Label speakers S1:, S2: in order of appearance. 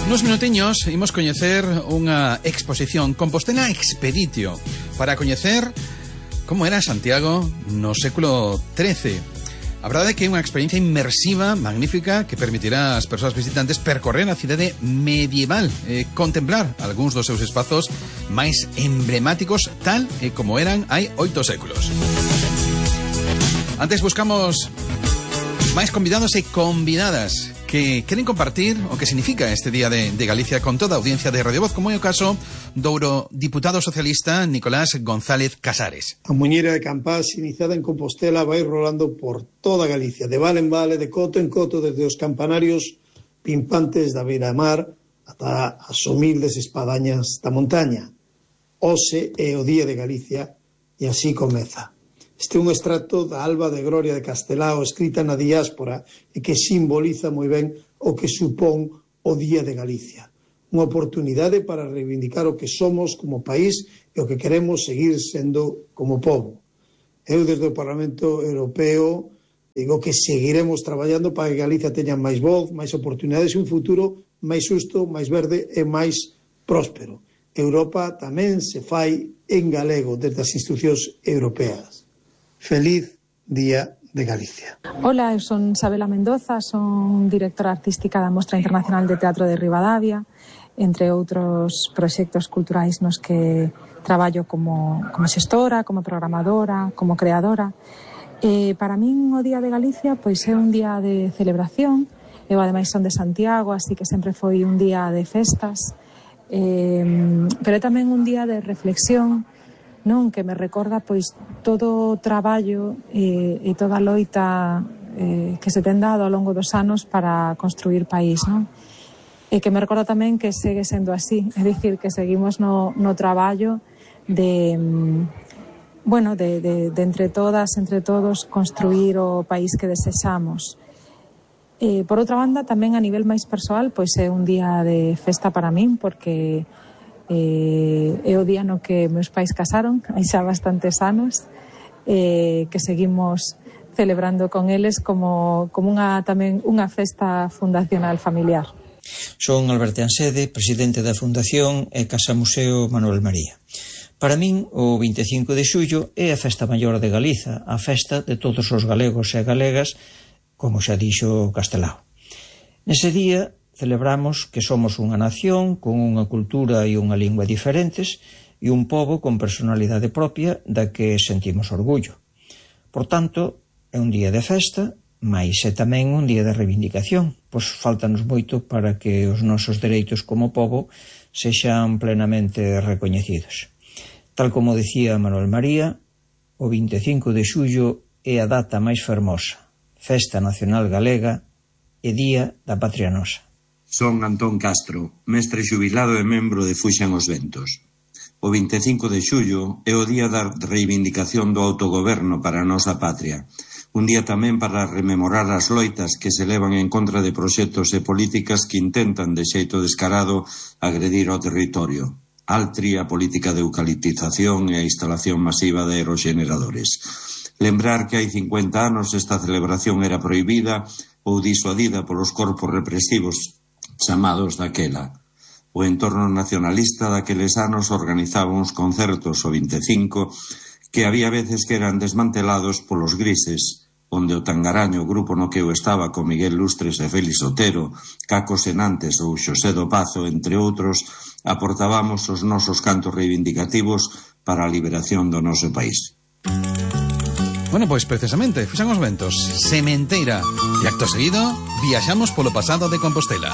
S1: Nos minutiños imos coñecer unha exposición Compostela Expeditio para coñecer como era Santiago no século XIII. A verdade é que é unha experiencia inmersiva, magnífica, que permitirá ás persoas visitantes percorrer a cidade medieval, contemplar algúns dos seus espazos máis emblemáticos tal e como eran hai 8 séculos. Antes buscamos máis convidados e convidadas que queren compartir o que significa este Día de Galicia con toda a audiencia de Radio Voz, como é o caso do eurodiputado socialista Nicolás González Casares.
S2: A muñeira de Campás, iniciada en Compostela, vai rolando por toda Galicia, de vale en vale, de coto en coto, desde os campanarios pimpantes da beira-mar ata as humildes espadañas da montaña. Hoxe é o Día de Galicia e así comeza. Este é un extracto da Alba de Gloria de Castelao, escrita na diáspora e que simboliza moi ben o que supón o Día de Galicia. Unha oportunidade para reivindicar o que somos como país e o que queremos seguir sendo como pobo. Eu, desde o Parlamento Europeo, digo que seguiremos traballando para que Galicia teña máis voz, máis oportunidades e un futuro máis xusto, máis verde e máis próspero. Europa tamén se fai en galego desde as institucións europeas. Feliz Día de Galicia.
S3: Hola, eu son Sabela Mendoza, son directora artística da Mostra Internacional de Teatro de Ribadavia, entre outros proxectos culturais nos que traballo como xestora, como programadora, como creadora. Para min o Día de Galicia pois é un día de celebración. Eu ademais son de Santiago, así que sempre foi un día de festas, pero é tamén un día de reflexión, non, que me recorda pois todo o traballo e toda a loita que se ten dado ao longo dos anos para construir país, non? E que me recorda tamén que segue sendo así, é dicir, que seguimos no traballo de entre todas, entre todos, construir o país que desexamos. Por outra banda, tamén a nivel máis persoal, pois é un día de festa para min, porque é o día no que meus pais casaron, hai xa bastantes anos, que seguimos celebrando con eles como tamén unha festa fundacional familiar.
S4: Son Alberto Ansede, presidente da Fundación e Casa Museo Manuel María. Para min, o 25 de xullo é a festa maior de Galiza, a festa de todos os galegos e galegas, como xa dixo Castelao. Nese día celebramos que somos unha nación con unha cultura e unha lingua diferentes e un pobo con personalidade propia da que sentimos orgullo. Por tanto, é un día de festa, mais é tamén un día de reivindicación, pois faltanos moito para que os nosos dereitos como pobo sexan plenamente recoñecidos. Tal como decía Manuel María, o 25 de xullo é a data máis fermosa, Festa Nacional Galega e Día da Patria Nosa.
S5: Son Antón Castro, mestre xubilado e membro de Fuxan os Ventos. O 25 de xullo é o día da reivindicación do autogoberno para a nosa patria. Un día tamén para rememorar as loitas que se levan en contra de proxectos e políticas que intentan de xeito descarado agredir ao territorio. Altri, a política de eucaliptización e a instalación masiva de aeroxeneradores. Lembrar que hai 50 anos esta celebración era prohibida ou disuadida polos corpos represivos chamados daquela. O entorno nacionalista daqueles anos organizaba uns concertos o 25 que había veces que eran desmantelados polos grises, onde o Tangaraño, grupo no que eu estaba con Miguel Lustres e Félix Otero, Caco Senantes ou Xosé do Pazo, entre outros, aportábamos os nosos cantos reivindicativos para a liberación do noso país.
S1: Bueno, pois precisamente, Fuxan os Ventos, Sementeira, e acto seguido, viaxamos polo pasado de Compostela.